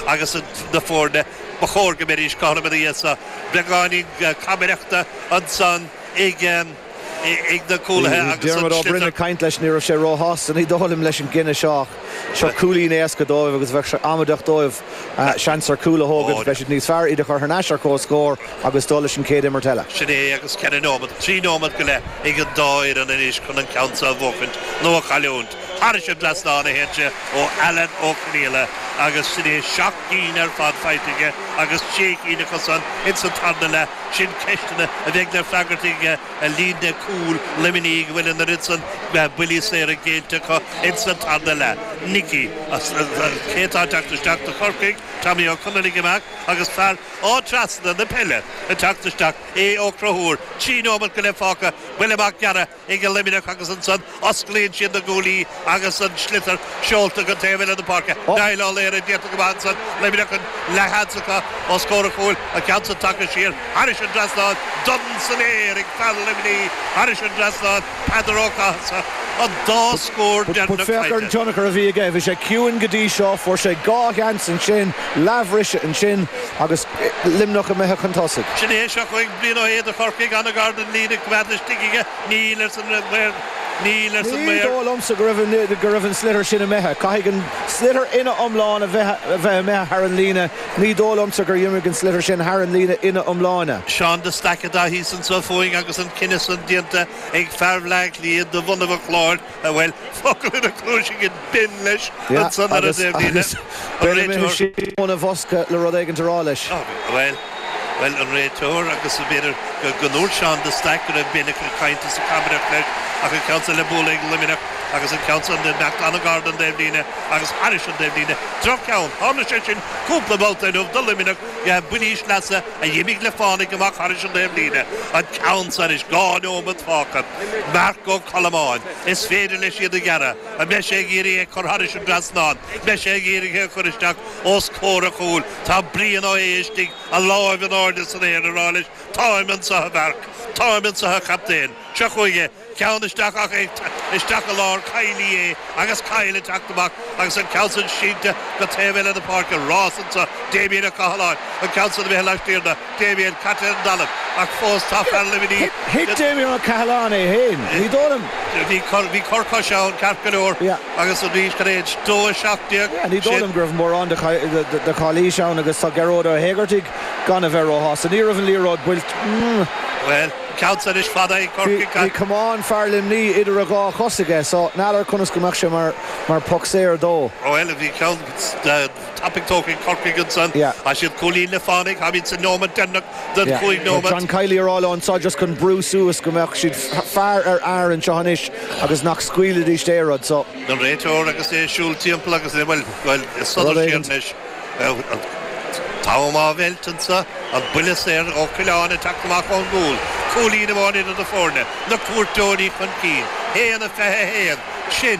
agus na foirne. Ba chóir go mbeidís cothrom ina dhiaidh seo. Beagáinín camaireachta ansan ag na cúlaithe agus an Diarmuid Ó Broin sliotar. ag caint leis, ní raibh sé róshásta, ní dóigh liom, leis an gcinneadh seo ach seo cúilín éasca dóibh agus bheadh sé amaideach dóibh seans ar chúl a thógaint. Bheadh siad níos fearr iad a chur thar n-ais ar comhscór agus dul leis an chéad imirt eile. Sin é agus ceithre nóimeat, trí nóimeat go leith ag an dá fhoireann anois chun an ceann seo a bhuachaint nó a chailliúint. Thairis an dtrasnán a théann sé ó Alan Ó Conaola agus sin é seacht gcinn ar fad faighte aige agus sé cinn acusan ins an tarna leath. Sin ceisteanna a bheidh le freagairt ag líne cúil Luimnigh go bhfuil an oiread san buillí saora géillte acu ins an tarna leath. Nicky, cé atá ag teacht isteach do Chorcaigh? Tommy Ó Conghaile amach agus fear Áth Trasna na peile ag teacht isteach, Aodh Ó Conchúir. 3 nóimeat go leith fágtha, buille amach gearrtha ag an Luimneach agus ansan osclaíonn siad na guaillí agus an sliotar seolta go taobh eile na páirce. Niall Ó Laoire déanta go maith ansan, Luimneach an leathsheans acu os comhair an chúil, an ceann san tagtha siar thairis an dtrasnán, done san aer ag fear Luimnigh thairis an dtrasnán, Peadar Ó Cathasaigh, an dá scór But deireanach féach ar an faighte. tionchar a bhí aige. Bhí sé ciúin go dtí seo, fuair sé dhá sheans ansin, leathbhriseadh ansin agus Luimneach imithe chun tosaigh. Sin é, seo chugainn Brian Ó hAodha do Chorcaigh, an-ghar don líne, coimeádta istigh aige, níl, arsa an maor, níl, arsa an Ní maor. dóigh liomsa go raibh go raibh an sliotar sin imithe. Caithfidh an sliotar ina iomlán a bheith a bheith imithe thar an líne. Ní dóigh liomsa gur imigh an sliotar sin thar an líne ina iomláine. Seán de Staic atá thíos anso fúinn agus an cinneadh san déanta ag fear Bhleá Cliath de bhunadh an Chláir, bhuel, focal ina chluais ag Ben leis ansan ar an Agus, dtaobhlíne, agus an Ben imithe réiteoir. siar óna bhosca le rud éigint a rá leis. Bhuel, bhuel, an réiteoir agus b'fhéidir go, go ndúirt Seán de Staic go raibh Ben ag caint is ag camaireacht leis ach an ceann san le bualadh ag Luimneach agus an ceann san ag imeacht an-ghar don dtaobhlíne agus thairis an dtaobhlíne. Droch-cheann. Tharla sé sin cúpla babhta inniu do Luimneach, buillí sleasa a d'imigh le fánaidh amach thairis an dtaobhlíne. An ceann san anois, 2 nóimeat fágtha. Marc Ó Colmáin. Is féidir leis iad a ghearradh. An mbeidh sé ag iarraidh é a chur thairis an dtrasnán? Beidh sé ag iarraidh é a chur isteach os comhair an chúil. Tá Brian Ó hAodha istigh, a láimh in airde san aer, ag rá leis, Táim anseo a Mharc. Táim anseo a chaptaen. Seo chugainn é. Ceann isteach ach é isteach i lár Kiely é agus Kyle ag teacht amach agus an ceann san sínte go taobh eile na páirce. Rás anso Damien Ó Cathaláin, an ceann san imithe laistiar de Damien, caite ar an dtalamh ach fós tá fear Luimnigh. Thit Damien Ó Cathaláin é féin, ní dóigh liom. Bhí cor, bhí cor coise ann ceart go leor agus arís tar éis 2:17. Ní dóigh liom go raibh mórán de chalaois ann agus tá Gearóid Ó hÉigeartaigh gan a bheith róshásta. Ní raibh an liathróid buailte. Bhuel, ceann san anois fada ag Corcaigh. Bhí camán fear Luimní idir a dhá chos aige so n'fheadar conas go mbeadh sé mar mar poc saor dó. Bhuel, bhí ceann tapaidh tógtha ag Corcaigh ansan. Tá siad cúilín le fánaidh, táimid sa neomat deireanach den chúig nóimeat. John Kiely ag rá leo anso just chun brú suas go mbeadh siad fear ar fhear anseo anois agus nach scaoilfidís aon rud so. An réiteoir agus é ag siúl timpeall agus é, bhuel, bhuel, ag sodar siar anois. An t-am á mheilt anso, an buille saor ó Coileáin ag teacht amach ón gcúl. Cúilín amháin idir na foirne, na cuairteoirí chun cinn. 1-21, sin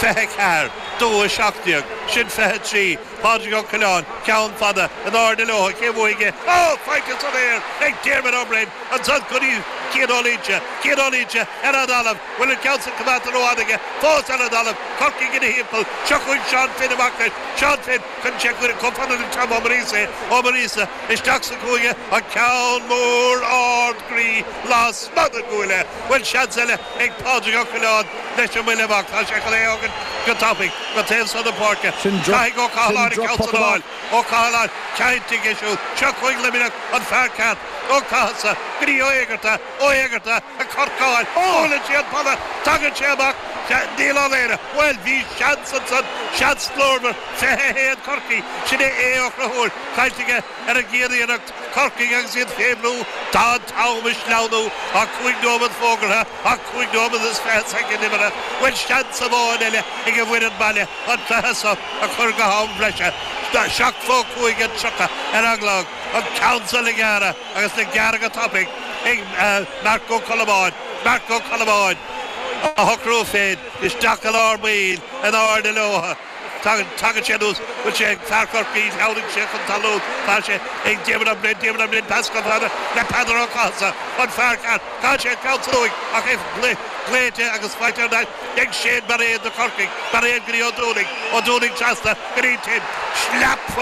24, 2-17, sin 23. Pádraig Ó Coileáin, ceann fada, in airde leo, cé bhuafaidh é? Ó! Faighte san aer ag Diarmuid Ó Broin, ansan go dtí Cian Ó Loinsigh, Cian Ó Loinsigh ar an dtalamh, bhfuil an ceann san coimeádta rófhada aige, fós ar an dtalamh, Corcaigh ina thimpeall, seo chugainn Seán Finn amach leis, Seán Finn, Cuireann sé chomh fada le Tom Ó Muiríosa é, Ó Muiríosa isteach sa chúinne, an ceann mór ard groí lasmuigh den gcuaille. Bhuel, seans eile ag Pádraig Ó Coileáin leis an mbuille amach. Tá sé chun é a thógaint go tapaidh go taobh seo na páirce. Caithfidh Ó Cathaláin an ceann san a fháil. Ó Cathaláin, caint aige siúd. Seo chugainn Luimneach, an fear ceart. Ó Cathasaigh go dtí Ó Éigearta. Ó Éigearta ag corcáil. Buaileann sé an polla. Tagann sé amach. Níl Ó Laoire. Bhuel, bhí seans ansan, seans glórmhar. 21 Corcaigh, sin é Aodh Ó Conchúir, caillte aige ar an gcéad iarracht. Corcaigh agus iad fé bhrú, tá an t-am ag sleamhnú, tá cúig nóiméad fógartha, ach cúig nóiméad is 20 soicind imeartha. Bhuel, seans amháin eile ag an bhfoireann baile an cluiche seo a chur go ham breise. 7 fó 5 and 30 ar an gclog. An ceann seo le gearradh agus le gearradh go tapaidh ag Marc Ó Colmáin. Marc Ó Colmáin á shocrú féin isteach i lár baill in airde leo. Tagann sé anuas, bhfuil sé ag fear Chorcaí, tháinig sé chun talún, tá sé ag Diarmuid Ó Broin, Diarmuid Ó Broin, pas chomh fada le Peadar Ó Cathasaigh, an fear ceart, caithfidh sé an ceann san uaidh ach é glaoite agus faighte ar ais ag Shane Bairéad do Chorcaigh, Bairéad go dtí Ó Dúnaigh, Ó Dúnaigh trasna go dtí Tim, sleap!